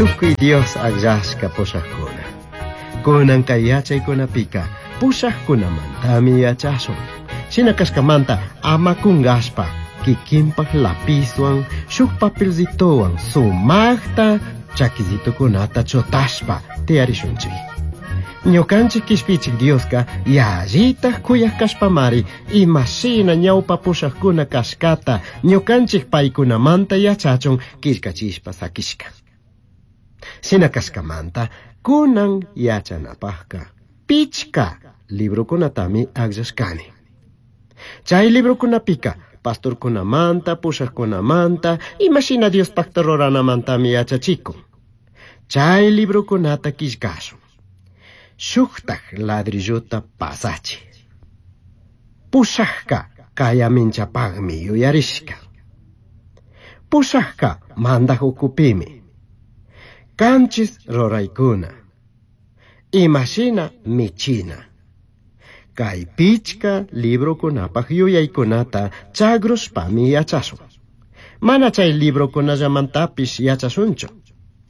Tukuy Dios akllashka pushaqkuna. Kunan kay yachaykunapika pushaqkunamantami yachashun. Shina kashkamanta ama kunqashpa kikinpaq lapizwan shuk papelcitowan sumaqta chakisitukunata chutashpa tiyarishunchik. Ñukanchik kishpichik Dioska yallitaj kuyaj kashpamari imashina ñawpa pushaqkuna kashkata ñukanchik paykunamanta yachachun killkachishpa sakishka. Shina kashkamanta kunan yachanapajka pichka librokunatami akllashkani. Chay librokunapika pastorkunamanta, pushaqkunamanta, imashina Diospaqta ruranamantami yachachikun. Chay librokunata killkashun. Shuktaj ladrilluta pasachi. Pushaqka kayaminchapaqmi yuyarishka. Pushaqka mandaq ukupimi. Kanchis ruraykuna. Imashina michina. Kay pichka librokunapaq yuyaykunata chagrushpami yachashun. Mana chay librokunallamantapish yachashunchu.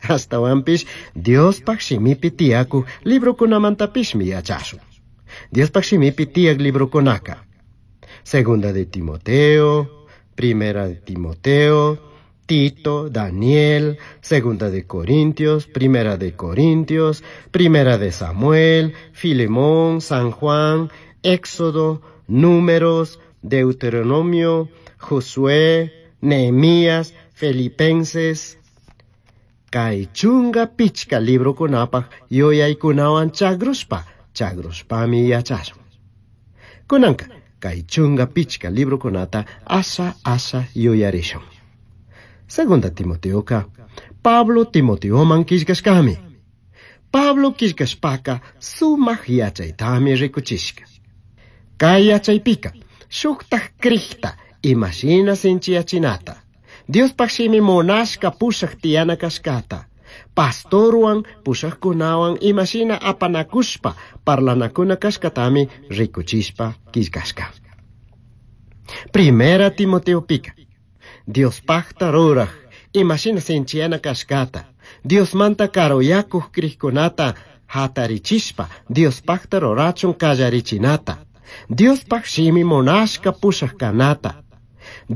Ashtawanpish Diospaq shimipi tiyakuq librokunamantapishmi yachashun. Diospaq shimipi tiyak librokunaka. Segunda de Timoteo, Primera de Timoteo, Tito, Daniel, Segunda de Corintios, Primera de Corintios, Primera de Samuel, Filemón, San Juan, Éxodo, Números, Deuteronomio, Josué, Nehemías, Filipenses. Kay chunga pichka librokunapaq yuyaykunawan chagrushpa, chagrushpami yachashun. Kunanka, kay chunga pichka librokunata asha asha yuyarishun. Segunda Timoteoka, Pablo Timoteoman killkashkami. Pablo killkashpaka sumaq yachaytami rikuchishka. Kay yachaypika, shuktaj krikta imashina sinchiyachinata. Diospaq shimi munashka pushaq tiyana kashkata. Pastorwan pushaqkunawan imashina apanakushpa parlanakuna kashkatami rikuchishpa killkashka. Primera Timoteopika, Diospaqta ruraj imashina sinchiyana kashkata. Diosmanta karuyakuq krikkunata hatarichishpa Diospaqta rurachun kallarichinata. Diospaq shimi munashka pushaq kanata.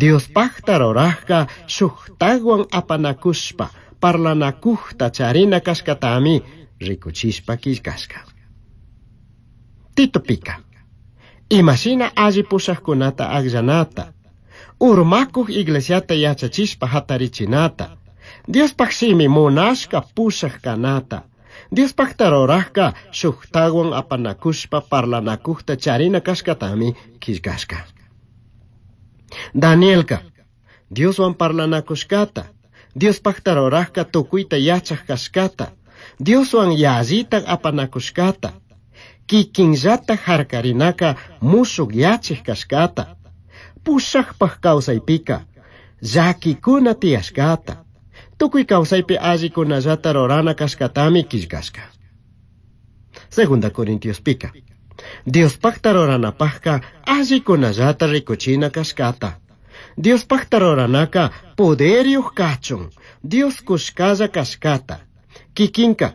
Diospaqta rurajka shuktawan apanakushpa parlanakujta charina kashkatami rikuchishpa killkashka. Titopika, imashina alli pushaqkunata akllanata, urmakuq iglesiata yachachishpa hatarichinata, Diospaq shimi munashka pushaq kanata, Diospaqta rurajka shuktawan apanakushpa parlanakujta charina kashkatami killkashka. Danielka, Dioswan parlanakushkata, Diospaqta rurajka tukuyta yachaq kashkata, Dioswan yallita apanakushkata, kikinllata harkarinaka mushuk yachik kashkata, pushaqpaq kawsaypika, llakikuna tiyashkata, tukuy kawsaypi allikunallata rurana kashkatami killkashka. Segunda Corintiospika, Diospaqta ruranapaqka allikunallata rikuchina kashkata. Diospaqta ruranaka poderyuq kachun, Dios kushkalla kashkata. Kikinka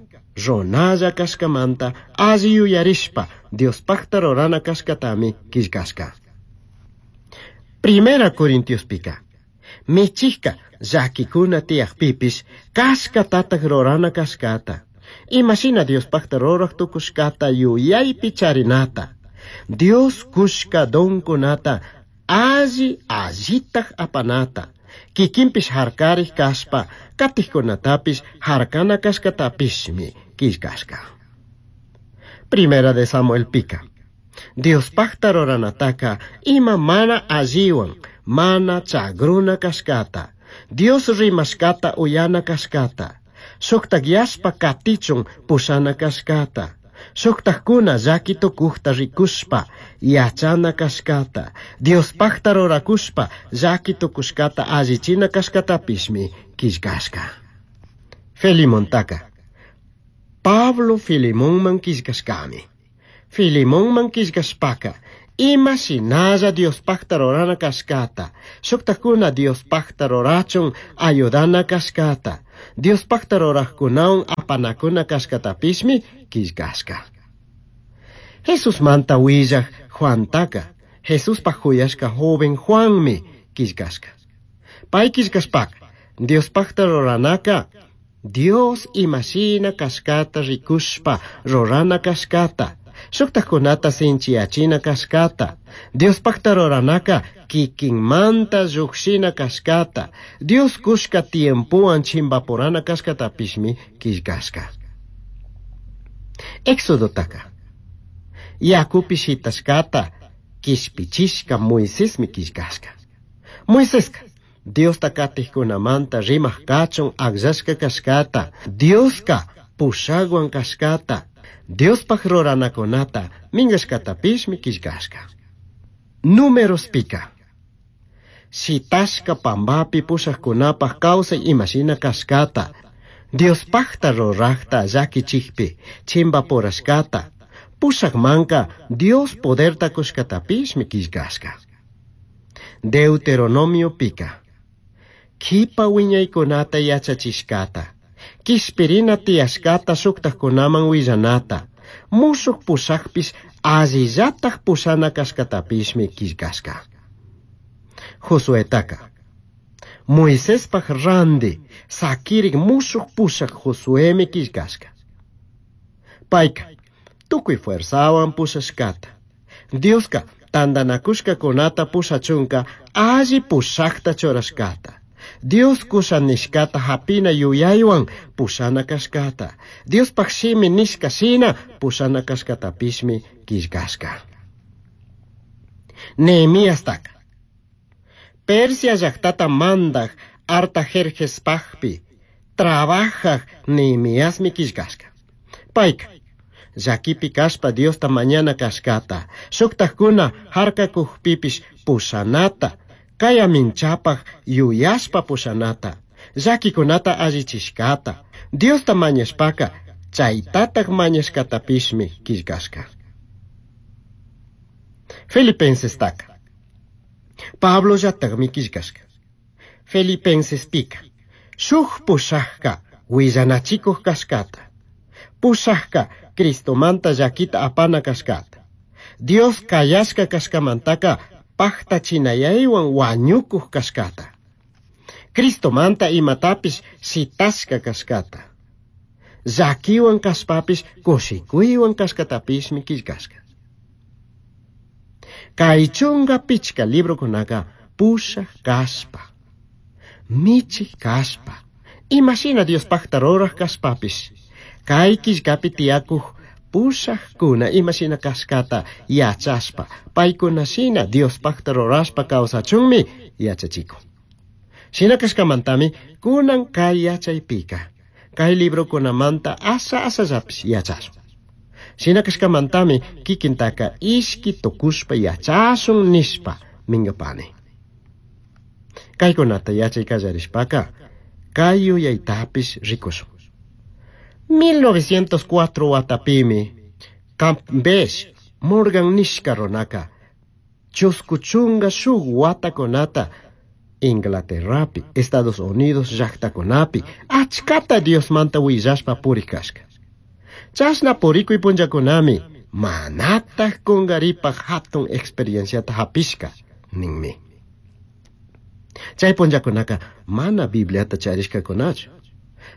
runalla kashkamanta alli yuyarishpa Diospaqta rurana kashkatami killkashka. Primera Corintiospika, michikka llakikuna tiyaqpipish kashkatataq rurana kashkata. Imashina Diospaqta ruraq tukushkata yuyaypi charinata. Dios kushka donkunata alli allitaq apanata. Kikinpish harkariq kashpa katiqkunatapish harkana kashkatapishmi killkashka. Primera de Samuelpika, Diospaqta ruranataka ima mana alliwan, mana chagruna kashkata, Dios rimashkata uyana kashkata, shuktak yashpa katichun pushana kashkata, shuktakkuna llaki tukujta rikushpa yachana kashkata, Diospaqta rurakushpa llaki tukushkata allichina kashkatapishmi killkashka. Filimontaka, Pablo Filimonman killkashkami. Filimonman killkashpaka, Ima shinalla Diospajta rurana cashcata, shuktakuna Diospajta rurachun ayudana cashcata, Diospajta rurajkunawan apanakuna cashcatapishmi quillcashca. Jesusmanta huillaj Juantaka, Jesuspaj juyashca joven Juanmi quillcashca. Pay quillcashpaka, Diospajta ruranaka, Dios imashina cashcata rikushpa rurana cashcata, shuktajkunata sinchiyachina cashcata, Diospajta ruranaka kikinmanta llujshina cashcata, Dios kushka tiempowan chimbapurana cashcatapishmi quillcashca. Exodotaka, yakupi shitashkata quishpichishka Moisesmi quillcashca. Moiseska, Diosta katijkunamanta rimaj kachun akllashka kashkata, Dioska pushakwan kashkata, Diospaj ruranakunata minkashkatapishmi quillcashca. Númerospika, shitashka pambapi pushajkunapaj kawsay imashina kashkata, Diospajta rurajta llakichikpi chimbapurashkata, pushakmanka Dios poderta kushkatapishmi quillcashca. Deuteronomiopika, kipa wiñaykunata yachachishkata, kishpirina tiyashkata shuktajkunaman willanata, mushuq pushakpish allillataj pushana kashkatapishmi quillcashca. Josuetaka, Moisespaj randi sakirik mushuq pushak Josuemi quillcashca. Payka, tukuy fuerzawan pushashkata. Dioska tantanakushkakunata pushachunka alli pushakta churashkata. Dios kusha nishkata hapina yuyaywan pushana kashkata. Diospaj shimi nishka shina pushana kashkatapishmi quillcashca. Nehemiastaka, Persia llaqtata mandaj Artajerjespajpi trabajaj Nehemiasmi quillcashca. Payka, llakipi kashpa Diosta mañana kashkata, shuktajkuna harkakujpipish pushanata, kayaminchapaj yuyashpa pushanata, llakikunata allichishkata, Diosta mañashpaka chaytataj mañashkatapishmi quillcashca. Filipensestaka, Pablo llatakmi quillcashca. Filipensespika, shuj pushajka willanachikuj kashkata, pushajka Cristomanta llakita apana kashkata, Dios kayashka kashkamantaka pajtachinayaywan wañukuj kashkata, Cristomanta imatapish shitashka kashkata, llakiwan kashpapish kushikuywan kashkatapishmi quillcashka. Kay chunka pichka librokunaka pushaj kashpa, michij kashpa, imashina Diospajta ruraj kashpapish, kay quillkapi tiyakuj pushajkuna imashina kashkata yachashpa, paykuna shina Diospajta rurashpa kawsachunmi yachachikun. Shina kashkamantami kunan kay yachaypika, kay librokunamanta asha ashallapish yachashun. Shina kashkamantami kikintaka ishki tukushpa yachashun nishpa minkapani. Kaykunata yachay kallarishpaka, kay yuyaytapish rikushun. 1904 watapimi Campbell Morgan nishka runaka chusku chunka shuk watakunata Inglaterrapi, Estados Unidos llaqtakunapi achkata Diosmanta willashpa purik kashka. Chashna purikuy punllakunami manataj kungaripaj hatun experienciata hapishka ninmi. Chay punllakunaka mana Bibliata charishkakunachu.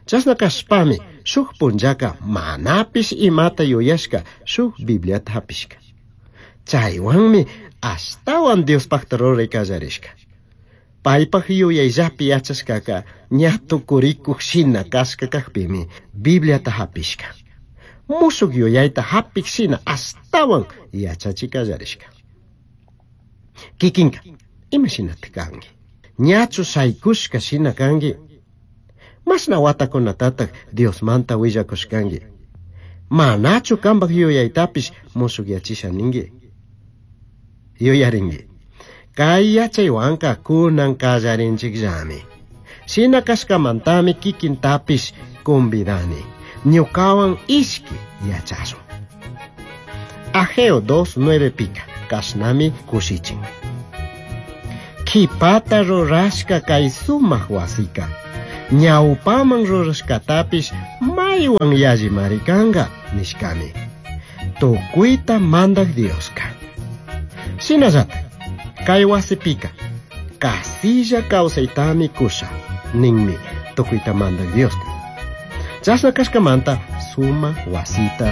Chashna kashpami shuk punllaka manapish imata yuyashka shuk Bibliata hapishka. Chaywanmi ashtawan Diospajta ruray kallarishka. Paypaj yuyayllapi yachashkaka ña tukurikuj shina kashka kajpimi Bibliata hapishka. Mushuk yuyayta hapik shina ashtawan yachachi kallarishka. Kikinka, imashinata kanki? Ñachu shaykushka shina kanki? Mashna watakunatataq Diosmanta willakushkanki? Manachu kanpaj yuyaytapish mushukyachisha ninki? Yuyarinki. Kay yachaywanka kunan kallarinchikllami. Shina kashkamantami kikintapish convidani. Ñukawan ishki yachashun. Ageo 2:9 pika. Cashnami cushichin. Q'uipata rurashca cai sumaj huasica. Ñaupaman rurashcatapish maihuan yallimari canga nishcami. Tucuita Mandaj Diosca. Shinallataj, cai huasipica, casilla causaitami cusha, ninmi tucuita Mandaj Diosca. Chashna cashcamanta sumaj huasita.